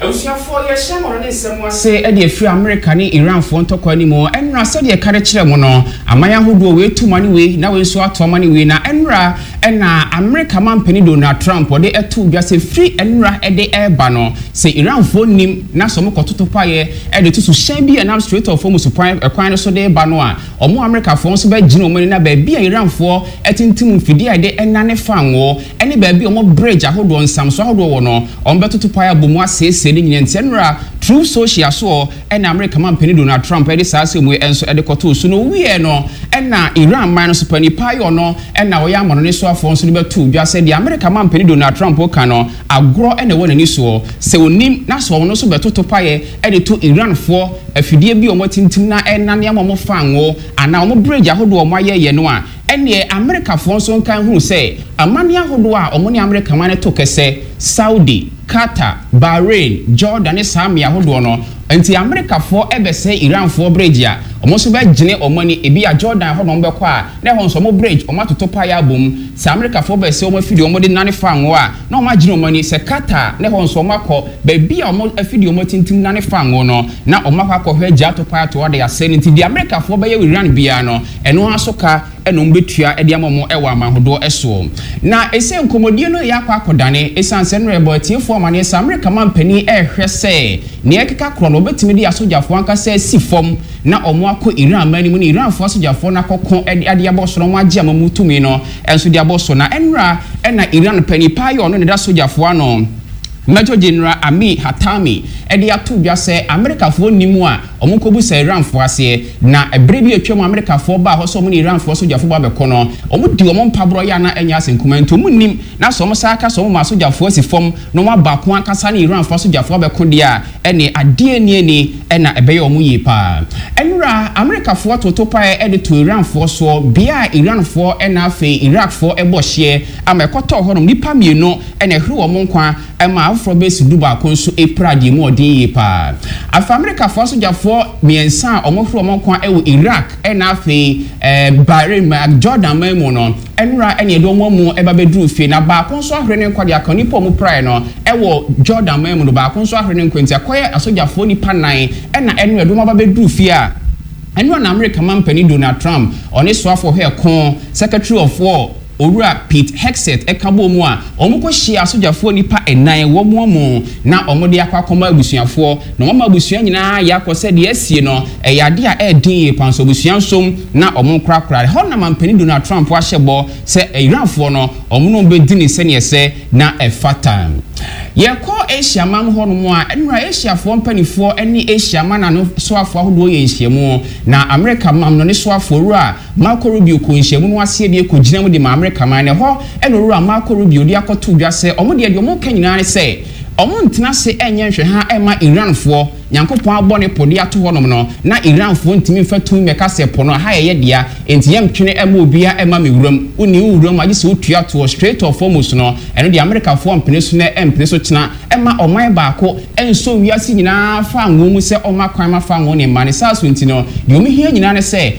Abusuafoɔ, yɛhyɛ mmɔno ne nsɛm ase de afiri Amerika ne Iranfoɔ ntɔkwa no mu. Ɛnora, sɛdeɛ ɛka de kyerɛ mo no, aman ahodoɔ wei tu ma ne wei, na wei nso ato ama ne wei. Na ɛnora ɛna Amerika mampanin Donald Trump ɔde ɛto dwa sɛ firi ɛnora ɛde ɛreba no, sɛ Iranfoɔ nim na sɛ wɔn kɔtoto paeɛ ɛde to so hyɛn bi a ɛnam Strait of Hormuz kwan ɛkwan no so de ba no a, wɔn Amerikafoɔ nso bɛgyina wɔn ani na baabi a Iranfoɔ ɛtintim mfidie a yɛde ɛnane fangoo ɛne baabi a wɔn bridge ahodoɔ, nsamso ahodoɔ wɔ no, wɔn bɛtoto paeɛ abɔ mu asiesie ne nyinaa. Nti ɛnora Truth Social soɔ ɛna Amerika mampanin Donald Trump ɛde saa asɛm yi nso ɛde kɔtoo so. No wieɛ no, ɛna Iran man no so panin paayɔ no ɛna ɔyɛ amanɔne soafoɔ nso de bɛto dwa sɛ deɛ Amerika mampanin Donald Trump ka no, agorɔ ɛna ɛwɔ n'ani soɔ. Sɛ onim na sɛ ɔno nso bɛtoto paeɛ ɛde to Iranfoɔ afidie bi a wɔn atintim na ɛnane ama wɔn fango anaa wɔn bridge ahodoɔ a wɔn ayɛyɛ no a, ɛneɛ Amerikafoɔ nso nka hunu sɛ amane ahodoɔ a wɔn ne Amerika man no to kɛsɛ, Saudi, Qatar, Bahrain, Jordan ne saa mmea ahodoɔ no. Nti Amerikafoɔ ɛbɛsɛ Iranfoɔ bridge a, wɔn nso bɛgyene wɔn ani. Ebi a Jordan hɔ na wɔn bɛkɔ a, na ɛhɔ nso wɔn bridge wɔn atoto paeɛ abom. Sɛ Amerikafoɔ bɛsɛ wɔn afidie wɔn de nane fango a, na wɔn agyene wɔn ani. Sɛ Qatar, na ɛhɔ nso wɔn akɔ baabi a wɔn afidie wɔn atintim nane fango no, na wɔn akɔ akɔhwɛ gya ato paeɛ ato ɔde asɛ no. Nti deɛ Amerikafoɔ bɛyɛ wɔ Iran biara no, ɛno ara so ka ɛna wɔn bɛtua ɛde ama wɔn ɛwɔ aman ahodoɔ ɛsoɔ. Na ɛsɛ nkɔmmɔdie no yɛ akɔ akɔdane, ɛsiane sɛ no ɛbɔ atiefoɔ amaneɛ sɛ Amerika mampanin ɛrehwɛ sɛ nea ɛkeka korɔ no, wɔbɛtumi de asogyafoɔ ankasa asi fam na wɔn akɔ Iran man no mu ne Iranfoɔ asogyafoɔ no akɔko ɛde ade abɔ so na wɔn agye amamu tumi no ɛnso de abɔ so. Na ɛnora ɛna Iran panin paa yɛ ɔno ne da sogyafoɔ ano, Major General Amir Hatami, ɛde ato dwa sɛ Amerikafoɔ nim a wɔn nkɔbu sɛ Iranfoɔ aseɛ. Na ɛberɛ bi atwam, Amerikafoɔ baa hɔ sɛ wɔn ne Iranfoɔ sogyafoɔ ba bɛkɔ no, wɔn di wɔn mpaborɔ yɛ ana ɛnyɛ ase nkuma. Nti wɔn nim na sɛ wɔn san ka sɛ wɔn ma asogyafoɔ asi fam na wɔn aba ko ankasa ne Iranfoɔ asogyafoɔ abɛko deɛ a, ɛne adeɛ nie ni ɛna ɛbɛyɛ wɔn yie paa. Ɛnura Amerikafoɔ toto pae ɛde to Iranfoɔ soɔ bea a Iranfoɔ ɛna afei Iraqfoɔ ɛbɔ hyeɛ ama ɛkɔtɔɔ hɔnom, nipa mmienu ɛna ɛhwere wɔn nkwa, ɛma afoforɔ bɛsi 11 nso epira deɛ mu ɔden yie paa. Afei Amerikafoɔ asogyafoɔ mmiɛnsa a wɔn hwere wɔn nkwa ɛwɔ Iraq ɛna afei Bahrain ma Jordan man mu no, ɛnura ɛna yɛde wɔn mu ɛba bɛduru fie, na baako nso ahwere ne nkwa de aka nipa a wɔn praeɛ no ɛwɔ Jordan man mu no. Baako nso ahwere ne nkwa, nti akɔyɛ asogyafoɔ nipa nnan ɛna ɛnura yɛde wɔn aba bɛduru fie a ɛnura. Na Amerika mampanin Donald Trump ɔne soafoɔ hwɛ ɛko, Secretary of War Owura Pete Hegseth, ɛka bɔ mu a wɔn kɔ hyia asogyafoɔ nipa ɛnan wɔn mu na wɔn de akɔ akɔma abusuafoɔ, na wɔn ama abusua nyinaa yɛ akɔ sɛ deɛ asie no ɛyɛ adeɛ a ɛɛden yie pan so abusua nsom na wɔn korakora hɔ. Na mampanin Donald Trump ahyɛ bɔ sɛ Iranfoɔ no, wɔn no bɛdi ne sɛneɛ sɛ na ɛfata. Yɛkɔ Asia man hɔnom a, ɛnura Asiafoɔ mpanimfoɔ ne Asia man ano soafoɔ ahodoɔ yɛ nhyiamu, na Amerika mam no ne soafoɔ Owura Marco Rubio kɔ nhyiamu no aseɛ bi kɔgyina mu de ma Amerika man no hɔ. Ɛna Owura Marco Rubio de akɔto dwa sɛ ɔmo deɛ ɔmo ka nyinaa ne sɛ ɔmo ntena ase ɛnyɛ nhwɛ ha ɛma Iranfoɔ Nyankopɔn abɔ ne po de ato hɔnom no na Iranfoɔ ntumi mfa tumi mɛka sɛ po no aha yɛyɛ dea, enti yɛntwene ɛma obia ɛma me wuram. Wonni wo wuram agye sɛ wotua toɔ. Strait of Hormuz no, ɛno deɛ Amerikafoɔ mpene so na ɛmpene so kyena ɛma ɔman baako ɛnso wiase nyinaa fa ngo mu sɛ ɔma kwan ma fa ngo ne mma ne saa so. Nti no deɛ ɔmo hia nyinaa ne sɛ